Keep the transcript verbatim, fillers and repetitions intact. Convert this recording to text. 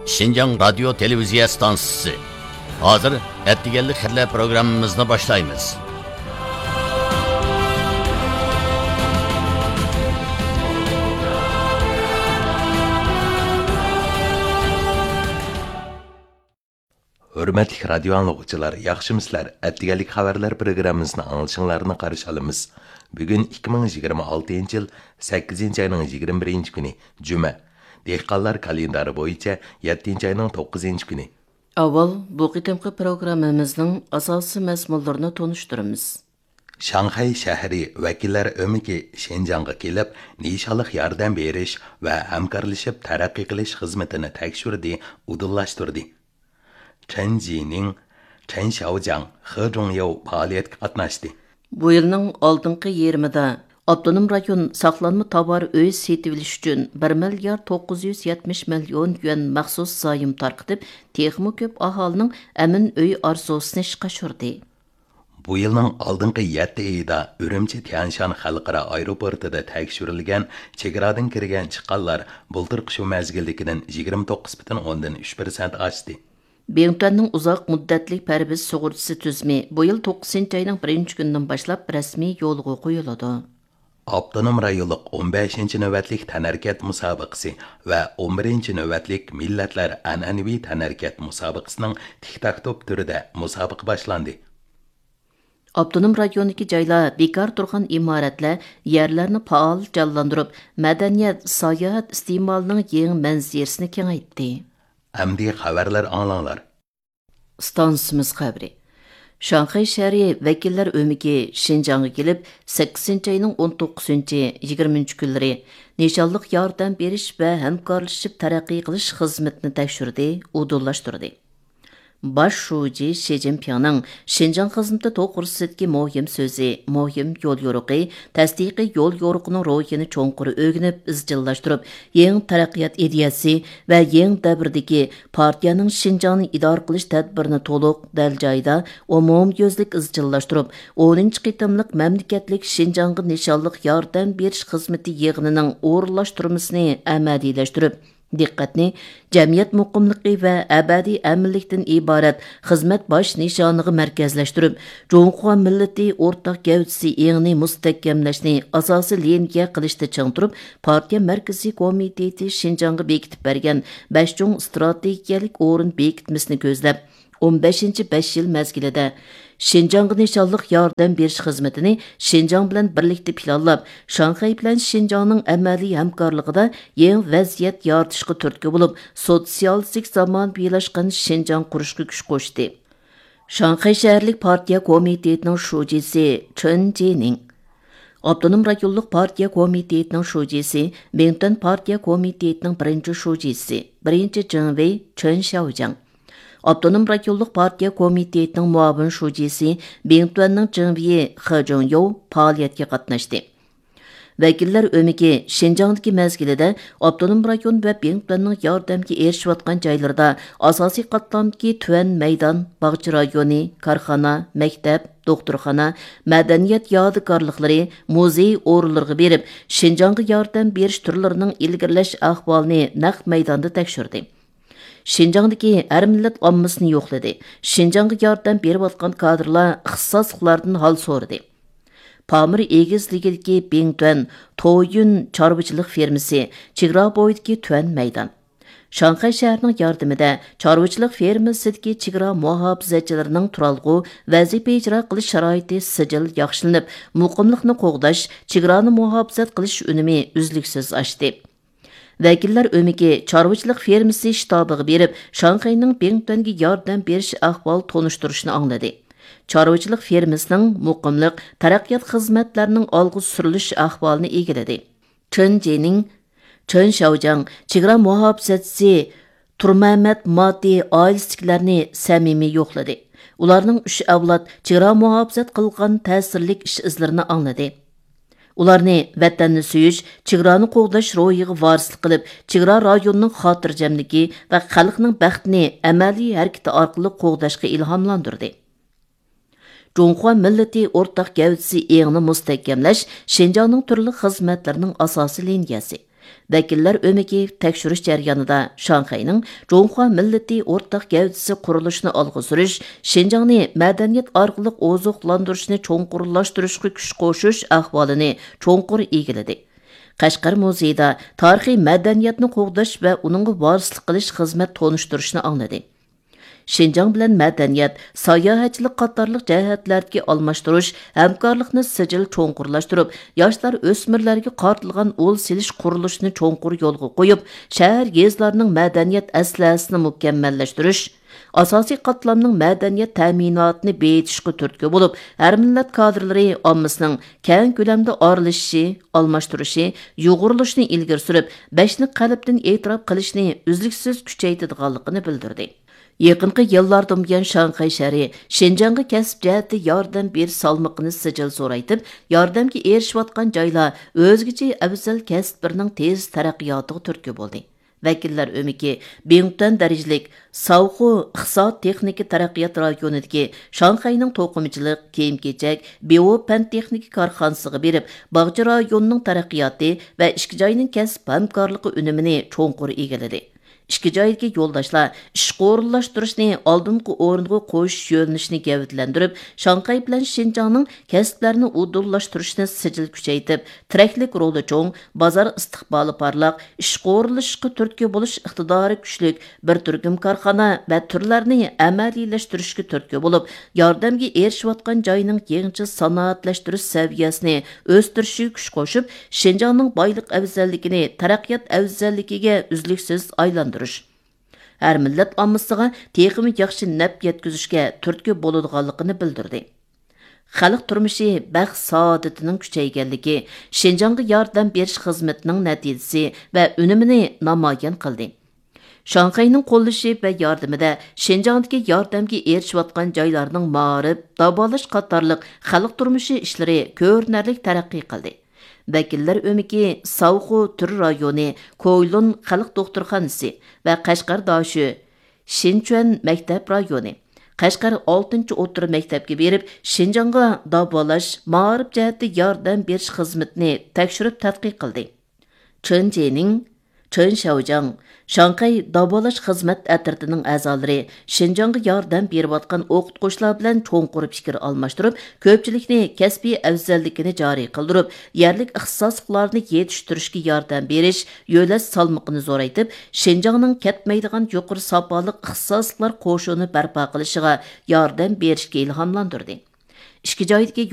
شىنجاڭ رادىيو تېلېۋىزىيە ئىستانسىسى. ھازىر ئەتىگەنلىك خەۋەرلەر پروگراممىمىزنى باشلايمىز. ھۆرمەتلىك رادىيو ئاڭلىغۇچىلار، ياخشىمۇسىلەر؟ ئەتىگەنلىك خەۋەرلەر پروگراممىسىنى ئاڭلىشىڭلارنى قارشى ئالىمىز. بۈگۈن ئىككى مىڭ يىگىرمە ئالتىنچى يىل سەككىزىنچى ئاينىڭ يىگىرمە بىرىنچى كۈنى، جۈمە. دېھقانلار كالېندارى بويىچە يەتتىنچى ئاينىڭ توققۇزىنچى كۈنى. ئاۋۋال بۇ قېتىمقى پروگراممىمىزنىڭ ئاساسىي مەزمۇنلىرىنى تونۇشتۇرىمىز. شاڭخەي شەھىرى ۋەكىللەر ئۆمىكى شىنجاڭغا كېلىپ، نىشانلىق ياردەم بېرىش ۋە ھەمكارلىشىپ تەرەققىي قىلىش خىزمىتىنى تەكشۈردى، ئۇدۇللاشتۇردى. چېن جىنىڭ، چېن شياۋجياڭ، خې جۇڭياۋ پائالىيەتكە قاتناشتى. بۇ يىلنىڭ ئالدىنقى يېرىمىدا ئاپتونوم رايون ساقلانما تاۋار ئۆي سېتىۋېلىش ئۈچۈن بىر مىليارد توققۇز يۈز يەتمىش مىليون يۈەن مەخسۇس زايوم تارقىتىپ، تېخىمۇ كۆپ ئاھالىنىڭ ئەمىن ئۆي ئارزۇسىنى ئىشقا ئاشۇردى. بۇ يىلنىڭ ئالدىنقى يەتتە ئېيىدا ئۈرۈمچى تيەنشان خەلقئارا ئايروپورتىدا تەكشۈرۈلگەن چېگرادىن كىرگەن چىققانلار بۇلتۇرقى شۇ مەزگىلدىكىدىن يىگىرمە توققۇز پۈتۈن ئوندىن ئۈچ پىرسەنت ئاشتى. بىڭتۈەننىڭ ئۇزاق مۇددەتلىك پەرۋىش سۇغۇرتىسى تۈزۈمى بۇ يىل توققۇزىنچى ئاينىڭ بىرىنچى كۈنىدىن باشلاپ رەسمىي يولغا قويۇلىدۇ. ئاپتونوم رايونلۇق ئون بەشىنچى نۆۋەتلىك تەنھەرىكەت مۇسابىقىسى ۋە ئون بىرىنچى نۆۋەتلىك مىللەتلەر ئەنئەنىۋى تەنھەرىكەت مۇسابىقىسىنىڭ تىك تاك توپ تۈرىدە مۇسابىقە باشلاندى. ئاپتونوم رايوندىكى جايلار بىكار تۇرغان ئىمارەتلەر، يەرلەرنى پائال جانلاندۇرۇپ، مەدەنىيەت، ساياھەت ئىستېمالىنىڭ يېڭى مەنزىرىسىنى كېڭەيتتى. ئەمدى خەۋەرلەر ئاڭلاڭلار. ئىستانسىمىز خەۋىرى. شاڭخەي شەھىرى ۋەكىللەر ئۆمىكى شىنجاڭغا كېلىپ، سەككىزىنچى ئاينىڭ ئون توققۇزىنچى، يىگىرمىنچى كۈنلىرى نىشانلىق ياردەم بېرىش ۋە ھەمكارلىشىپ تەرەققىي قىلىش خىزمىتىنى تەكشۈردى، ئۇدۇللاشتۇردى. باش شۇجى شى جىنپىڭنىڭ شىنجاڭ خىزمىتى توغرىسىدىكى مۇھىم سۆزى، مۇھىم يوليورۇقى، تەستىقىي يوليورۇقىنىڭ روھىنى چوڭقۇر ئۆگىنىپ ئىزچىللاشتۇرۇپ، يېڭى تەرەققىيات ئىدىيەسى ۋە يېڭى دەۋردىكى پارتىيەنىڭ شىنجاڭنى ئىدارە قىلىش تەدبىرىنى تولۇق، دەل جايىدا، ئومۇميۈزلۈك ئىزچىللاشتۇرۇپ، ئونىنچى قېتىملىق مەملىكەتلىك شىنجاڭغا نىشانلىق ياردەم بېرىش خىزمىتى يىغىنىنىڭ ئورۇنلاشتۇرمىسىنى ئەمەلىيلەشتۈرۈپ، دىققەتنى جەمئىيەت مۇقىملىقى ۋە ئەبەدىي ئەمىنلىكتىن ئىبارەت خىزمەت باش نىشانىغا مەركەزلەشتۈرۈپ، جۇڭخۇا مىللىتى ئورتاق گەۋدىسى ئېڭىنى مۇستەھكەملەشنى ئاساسىي لىنىيە قىلىشتا چىڭ تۇرۇپ، پارتىيە مەركىزىي كومىتېتى شىنجاڭغا بېكىتىپ بەرگەن بەش چوڭ ئىستراتېگىيەلىك ئورۇن بېكىتمىسىنى كۆزلەپ، ئون بەشىنچى بەش يىل مەزگىلىدە شىنجاڭغا نىشانلىق ياردەم بېرىش خىزمىتىنى شىنجاڭ بىلەن بىرلىكتە پىلانلاپ، شاڭخەي بىلەن شىنجاڭنىڭ ئەمەلىي ھەمكارلىقىدا يېڭى ۋەزىيەت يارىتىشقا تۈرتكە بولۇپ، سوتسىيالىستىك زامانىۋىلاشقان شىنجاڭ قۇرۇشقا كۈچ قوشتى. شاڭخەي شەھەرلىك پارتىيە كومىتېتىنىڭ شۇجىسى چېن جىنىڭ، ئاپتونوم رايونلۇق پارتىيە كومىتېتىنىڭ شۇجىسى، بىڭتۈەن پارتىيە كومىتېتىنىڭ بىرىنچى شۇجىسى، بىرىنچى جېڭۋېي چېن شياۋجياڭ، ئاپتونوم رايونلۇق پارتىيە كومىتېتىنىڭ مۇئاۋىن شۇجىسى، بىڭتۈەننىڭ جېڭۋېيى خې جۇڭيوۋ پائالىيەتكە قاتناشتى. ۋەكىللەر ئۆمىكى شىنجاڭدىكى مەزگىلىدە ئاپتونوم رايون ۋە بىڭتۈەننىڭ ياردەمگە ئېرىشىۋاتقان جايلىرىدا ئاساسىي قاتلامدىكى تۈەن مەيدان، باغچە رايونى، كارخانا، مەكتەپ، دوختۇرخانا، مەدەنىيەت يادىكارلىقلىرى، مۇزېي ئورۇنلىرىغا بېرىپ، شىنجاڭغا ياردەم بېرىش تۈرلىرىنىڭ ئىلگىرىلەش ئەھۋالىنى نەق مەيداندا تەكشۈردى. شىنجاڭدىكى ھەر مىللەت ئاممىسىنى يوقلىدى. شىنجاڭغا ياردەم بېرىۋاتقان كادىرلار ئىختىساسلىقلاردىن ھال سورىدى. پامىر ئېگىزلىكىدىكى بىڭتۈەن تويۈن چارۋىچىلىق فېرمىسى، چېگرا بويىدىكى تۈەن مەيدان. شاڭخەي شەھىرىنىڭ ياردىمىدە چارۋىچىلىق فېرمىسىدىكى چېگرا مۇھاپىزەتچىلىرىنىڭ تۇرالغۇ، ۋەزىپە ئىجرا قىلىش شارائىتى سىجىل ياخشىلىنىپ، مۇقىملىقنى قوغداش، چېگرانى مۇھاپىزەت قىلىش ئۈنۈمى ئۈزلۈكسىز ئاشتى. ۋەكىللەر ئۆمىكى چارۋىچىلىق فېرمىسى شتابىغا بېرىپ، شاڭخەينىڭ بىڭتۈەنگە ياردەم بېرىش ئەھۋال تونۇشتۇرۇشىنى ئاڭلىدى. چارۋىچىلىق فېرمىسىنىڭ مۇقىملىق، تەرەققىيات خىزمەتلەرنىڭ ئالغا سۈرۈلۈش ئەھۋالىنى ئىگىلىدى. چېن جىنىڭ، چېن شياۋجياڭ چېگرا مۇھاپىزەتچىسى تۇرمەمەت ماتى ئائىلىسىدىكىلەرنى سەمىمىي يوقلىدى. ئۇلارنىڭ ئۈچ ئەۋلاد چېگرا مۇھاپىزەت قىلغان تەسىرلىك ئىش ئىزلىرىنى ئاڭلىدى. ئۇلارنى ۋەتەننى سۆيۈش، چېگرانى قوغداش روھىغا ۋارىسلىق قىلىپ، چېگرا رايونىنىڭ خاتىرجەملىكى ۋە خەلقنىڭ بەختىنى ئەمەلىي ھەرىكىتى ئارقىلىق قوغداشقا ئىلھاملاندۇردى. جۇڭخۇا مىللىتى ئورتاق گەۋدىسى ئېڭىنى مۇستەھكەملەش شىنجاڭنىڭ تۈرلۈك خىزمەتلىرىنىڭ ئاساسىي لىنىيەسى. ۋەكىللەر ئۆمىكى تەكشۈرۈش جەريانىدا شاڭخەينىڭ جۇڭخۇا مىللىتى ئورتاق گەۋدىسى قۇرۇلۇشىنى ئالغا سۈرۈش، شىنجاڭنى مەدەنىيەت ئارقىلىق ئوزۇقلاندۇرۇشنى چوڭقۇرلاشتۇرۇشقا كۈچ قوشۇش ئەھۋالىنى چوڭقۇر ئىگىلىدى. قەشقەر مۇزېيىدا تارىخىي مەدەنىيەتنى قوغداش ۋە ئۇنىڭغا ۋارىسلىق قىلىش خىزمەت تونۇشتۇرۇشنى ئاڭلىدى. شىنجاڭ بىلەن مەدەنىيەت، ساياھەتچىلىك قاتارلىق جەھەتلەردىكى ئالماشتۇرۇش، ھەمكارلىقنى سىجىل چوڭقۇرلاشتۇرۇپ، ياشلار، ئۆسمۈرلەرگە قارىتىلغان ئۇل سېلىش قۇرۇلۇشىنى چوڭقۇر يولغا قويۇپ، شەھەر، يېزىلارنىڭ مەدەنىيەت ئەسلىھەسىنى مۇكەممەللەشتۈرۈش، ئاساسىي قاتلامنىڭ مەدەنىيەت تەمىناتىنى بېيىتىشقا تۈرتكە بولۇپ، ھەر مىللەت كادىرلىرى ئاممىسىنىڭ كەڭ كۆلەمدە ئارىلىشىشى، ئالماشتۇرۇشى، يۇغۇرۇلۇشىنى ئىلگىرى سۈرۈپ، بەشنى قەلبتىن ئېتىراپ قىلىشنى ئۈزلۈكسىز كۈچەيتىدىغانلىقىنى بىلدۈردى. يېقىنقى يىللاردىن بۇيان شاڭخەي شەھىرى شىنجاڭغا كەسىپ جەھەتتە ياردەم بېرىش سالمىقىنى سىجىل زورايتىپ، ياردەمگە ئېرىشىۋاتقان جايلار ئۆزگىچە ئەۋزەل كەسىپلىرىنىڭ تېز تەرەققىياتىغا تۈرتكە بولدى. ۋەكىللەر ئۆمىكى بىڭتۈەن دەرىجىلىك ساۋخۇ ئىقتىساد تېخنىكا تەرەققىيات رايونىدىكى شاڭخەينىڭ توقۇمىچىلىق، كىيىم-كېچەك، بىۋو پەن تېخنىكا كارخانىسىغا بېرىپ، باغچە رايونىنىڭ تەرەققىياتى ۋە ئىككى جاينىڭ كەسىپ ھەمكارلىقى ئۈنۈمىنى چوڭقۇر ئىگىلىدى. ئىككى جايدىكى يولداشلار ئىشقا ئورۇنلاشتۇرۇشنى ئالدىنقى ئورۇنغا قويۇش يۆنىلىشىنى گەۋدىلەندۈرۈپ، شاڭخەي بىلەن شىنجاڭنىڭ كەسىپلەرنى ئۇدۇللاشتۇرۇشنى سىجىل كۈچەيتىپ، تىرەكلىك رولى چوڭ، بازار ئىستىقبالى پارلاق، ئىشقا ئورۇنلىشىشقا تۈرتكە بولۇش ئىقتىدارى كۈچلۈك بىر تۈركۈم كارخانا ۋە تۈرلەرنى ئەمەلىيلەشتۈرۈشكە تۈرتكە بولۇپ، ياردەمگە ئېرىشىۋاتقان جاينىڭ يېڭىچە سانائەتلەشتۈرۈش سەۋىيەسىنى ئۆستۈرۈشىگە كۈچ قوشۇپ، شىنجاڭنىڭ بايلىق ئەۋزەللىكىنى تەرەققىيات ئەۋزەللىكىگە ئۈزلۈكسىز ئايلاندۇرۇش، ھەر مىللەت ئاممىسىغا تېخىمۇ ياخشى نەپ يەتكۈزۈشكە تۈرتكە بولىدىغانلىقىنى بىلدۈردى. خەلق تۇرمۇشى بەخت سائادىتىنىڭ كۈچەيگەنلىكى، شىنجاڭغا ياردەم بېرىش خىزمىتىنىڭ نەتىجىسى ۋە ئۈنۈمىنى نامايان قىلدى. شاڭخەينىڭ قوللىشى ۋە ياردىمىدە شىنجاڭدىكى ياردەمگە ئېرىشىۋاتقان جايلارنىڭ مائارىپ، داۋالاش قاتارلىق خەلق تۇرمۇشى ئىشلىرى كۆرۈنەرلىك تەرەققىي قىلدى. ۋەكىللەر ئۆمىكى ساۋخۇ تۈر رايونى كويلۇن خەلق دوختۇرخانىسى ۋە قەشقەر داشۆ شىنچۈەن مەكتەپ رايونى، قەشقەر ئالتىنچى ئوتتۇرا مەكتەپكە بېرىپ، شىنجاڭغا داۋالاش، مائارىپ جەھەتتە ياردەم بېرىش خىزمىتىنى تەكشۈرۈپ تەتقىق قىلدى. چېن جېنىڭ، چېن شياۋجياڭ، شاڭخەي داۋالاش خىزمەت ئەترىتىنىڭ ئەزالىرى شىنجاڭغا ياردەم بېرىۋاتقان ئوقۇتقۇچىلار بىلەن چوڭقۇر پىكىر ئالماشتۇرۇپ، كۆپچىلىكنى كەسپىي ئەۋزەللىكىنى جارى قىلدۇرۇپ، يەرلىك ئىختىساسلىقلارنى يېتىشتۈرۈشكە ياردەم بېرىش، يۆلەش سالمىقىنى زورايتىپ، شىنجاڭنىڭ كەتمەيدىغان يۇقىرى ساپالىق ئىختىساسلىقلار قوشۇنى بەرپا قىلىشىغا ياردەم بېرىشكە ئىلھاملاندۇردى. ئىككى جايدىكى